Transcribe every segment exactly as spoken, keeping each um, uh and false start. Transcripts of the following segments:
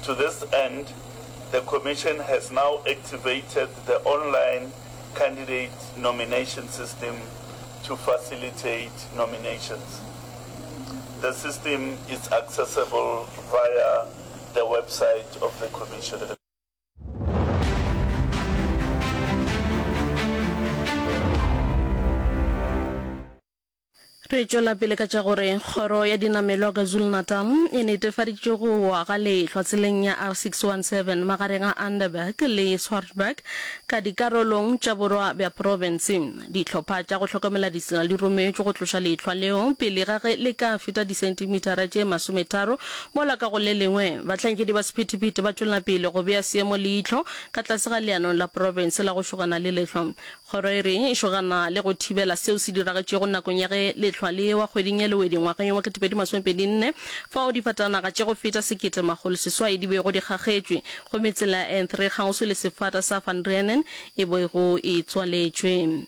To this end, the Commission has now activated the online candidate nomination system to facilitate nominations. The system is accessible via the website of the Commission. Re tšwela pele ka tša gore Kgoro ya Dinamelwa KwaZulu-Natal e netefaditše go wa ga lehlwa tseleng ya R six one seven magareng a Underberg le Swartberg ka dikarolong tša borwa bja profense. Dihlopha tša go hlokomela ditsela di rometšwe go tloša lehlwa leo pele ga ge le ka feta disentimetara tše masometharo mola ka go le lengwe bahlankedi ba sephethephethe ba tšwela pele go bea seemo leihlo ka tlase ga leano la profense la go šogana le lehlwa. Kgoro e re e šogana le go thibela seo se diragetšego nakong ya ge lehlwa le ewa kgweding ya Lewedi ngwageng wa ketepedi masomepedi nne, fao difatanaga tše go feta sekete makgolo seswai di bego di kgakgetšwe gomme tsela ya N three kgauswi le sefata sa Van Reenen e bego e tswaletšwe.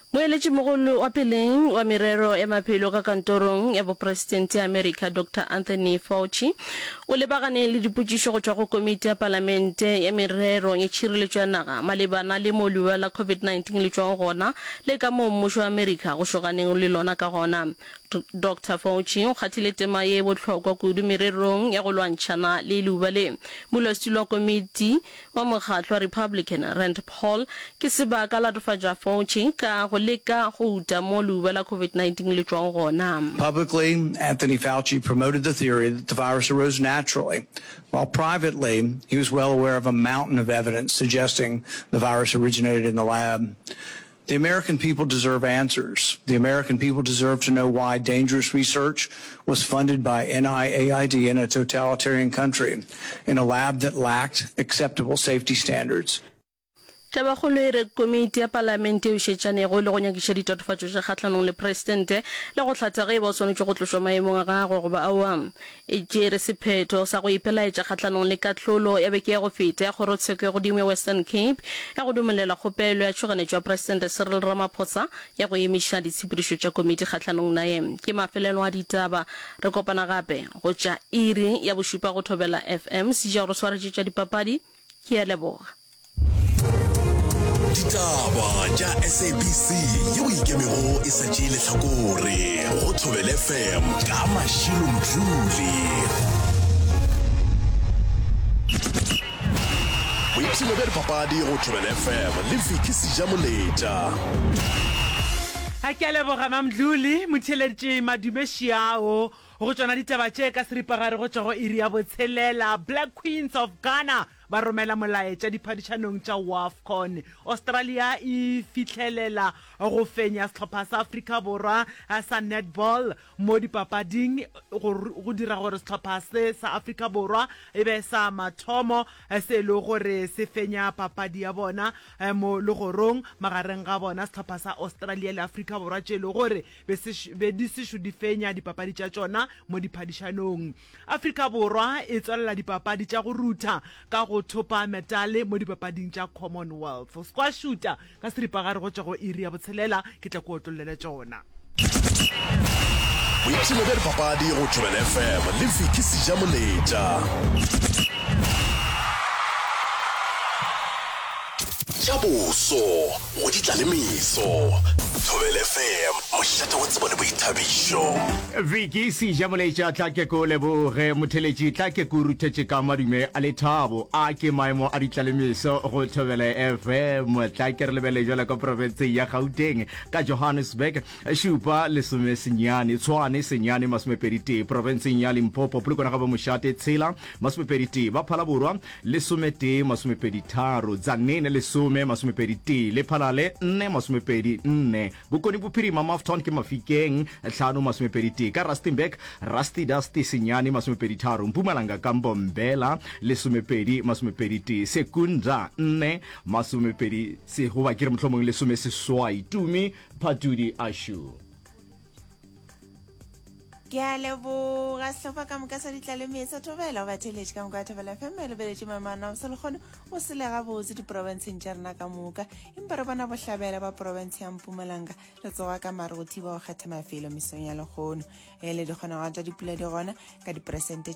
Moeletšimogolo wa peleng wa merero ya maphelo ka kantorong ya bopresidente ya Amerika Doctor Anthony Fauci o lebagane le dipotšišo go tšwa go komiti ya palamente ya merero ya tšhireletšo ya naga malebana le mo leuba la COVID nineteen le tšwago gona le ka moo mmušo wa Amerika go šoganeng le lona ka gona. Doctor Fauci o kgathile tema ye bohlokwa kudu mererong ya go lwantšhana le leuba le. Modulasetulo wa komiti wa mokgatlo wa Republican, Rand Paul, ke sebaka latofatša Fauci ka go leka go uta mo leuba la COVID nineteen le tšwago gona. Publicly, Anthony Fauci promoted the theory that the virus arose naturally, while privately, he was well aware of a mountain of evidence suggesting the virus originated in the lab. The American people deserve answers. The American people deserve to know why dangerous research was funded by N I A I D in a totalitarian country, in a lab that lacked acceptable safety standards. Tabakgolo e re komiti ya palamente yeo e šetšanego le go nyakiša ditatofatšo tša kgahlanong le presidente le go hlatha ge e ba o swanetše go tlošwa maemong a gagwe goba aowa, e tšere sephetho sa go ipelaetša kgahlanong le kahlolo ya beke ya go feta ya Kgorotsheko ya Godimo ya Western Cape ya go dumelela kgopelo ya tšhoganetšo ya Presidente Cyril Ramaphosa ya go emiša ditshepedišo tša komiti kgahlanong naye. Ke mafelelo a ditaba. Re kopana gape go tša iri ya bošupa go Thobela F M. Seja o re swaretše tša dipapadi. Ke a leboga. Ditaba tša S A B C yeo e ikemego e sa tšee lehlakore go Thobela F M ka Mashilo Mdluli. Boipshino bja dipapadi go Thobela F M le Vicky Sejamoletša. A ke a leboga Mamdluli, motheeleditše Madume Šiao go tšona ditaba tše ka seripagare go tšwa go iri ya botshelela. Black Queens of Ghana ba romela molaetša diphadišanong tša WAFCON. Australia e fihlelela go fenya sehlopha sa Afrika Borwa sa netball mo dipapading go go dira gore sehlopha se sa Afrika Borwa e be sa mathomo se e lego gore se fenya papadi ya bona mo legorong magareng ga bona sehlopha sa Australia le Afrika Borwa tše e lego gore be se be di sešo di fenya dipapadi tša tšona mo diphadišanong. Afrika Borwa e tswalela dipapadi tša go rutha ka go thopa metale mo dipapading tša Commonwealth. Squash-šuta ka seripagare go tšwa go iri ya botshelela, ke tla ke otlollele tšona. Boipshino bja dipapadi go Thobela F M le Vicky Sejamoletša. Tša boso go di tla le meso. Thobela F M, mošate wa tsebo le boithabišo. Vicky Sejamoletša, tla ke ko leboge. Motheletši, tla ke ko ruthetše ka madume a lethabo. A ke maemo a ditlalemeso go Thobela F M. Tla ke re lebele jwale ka profenseng ya Gauteng ka Johannesburg, šupa lesome senyane, Tshwane senyane masomepedi tee, profenseng ya Limpopo, Polokwane ga bo mošate tshela masomepedi tee, ba Phalaborwa lesometee masomepedi tharo, Tzaneen lesome masomepedi tee, Lephalale nne masomepedi nne, Bokone Bophirima Mafton ke Mafikeng hlano masomepedi tee, ka Rustenburg Rusty Dusty senyane masomepedi tharo, Mpumalanga ka Mbombela lesomepedi masomepedi tee, Secunda nne masomepedi se goba ke re mohlomong lesome seswai, Tumi Phatudi Ashu. Ke a leboga sehlopha ka moka sa ditlaleme sa Thobela. Go batheeletši ka moka ba Thobela F M ba lebeletše maemano a bosa lekgono go sele gabotse diprofenseng tša rena ka moka. Empa re bona bohlabela ba profense ya Mpumalanga re tsoga ka mare go thiba go kgetha mafelo mesong ya lekgono. E le dikgonagalo tša dipula di gona ka diperesente